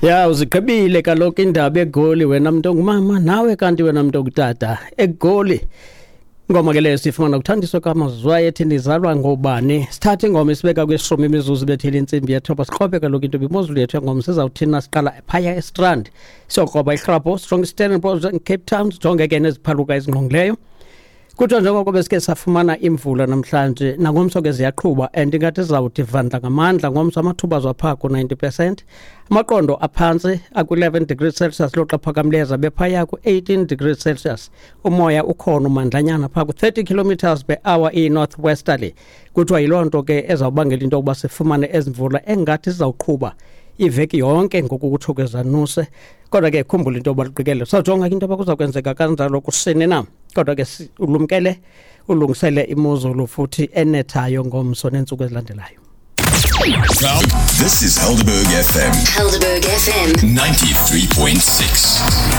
Ya, uzigqibile kaloku indaba eGoli wena mntu ongumama, nawe kanti wena mntu ongutata eGoli. Ingoma ke leyo sifumana kuthandiswa kamazwayi ethi nizalwa ngobani. Sithathe ingoma isibeka kwishumi imizuzu bethile intsimbi yethoba, siqobe kaloku into imozulu yethu yangoma. Sizawuthina siqala phaya eStrand, siyokroba iHrabho, sijonge iStellenbosch, Cape Town, sijonge ke neziphaluka ezingqongileyo. Kuthiwa njengoko besike safumana imvula namhlanje, nangomso ke ziyaqhuba and ingathi zizawuthi vandla ngamandla ngomso. Amathuba zwapha ku-90%, amaqondo aphantsi aku-11 degrees Celsius, loxa phakamileyo zabe phaya ku-18 degrees Celsius. Umoya ukhona umandlanyana phaa ku-30 kilometers per hour, i-north westerly. Kuthiwa yiloo nto ke ezawubangela into yokuba sifumane ezi mvula engathi zizawuqhuba iveki yonke ngoku kutsho kwezanuse. Kodwa ke khumbula into yoba luqikele, sawujonga ke into yoba kuza kwenzeka kanjalo kusini na. Kodwa ke ulumkele, ulungisele imozulu futhi enethayo ngomso neentsuku ezilandelayo. This is Helderberg FM. Helderberg FM 93.6.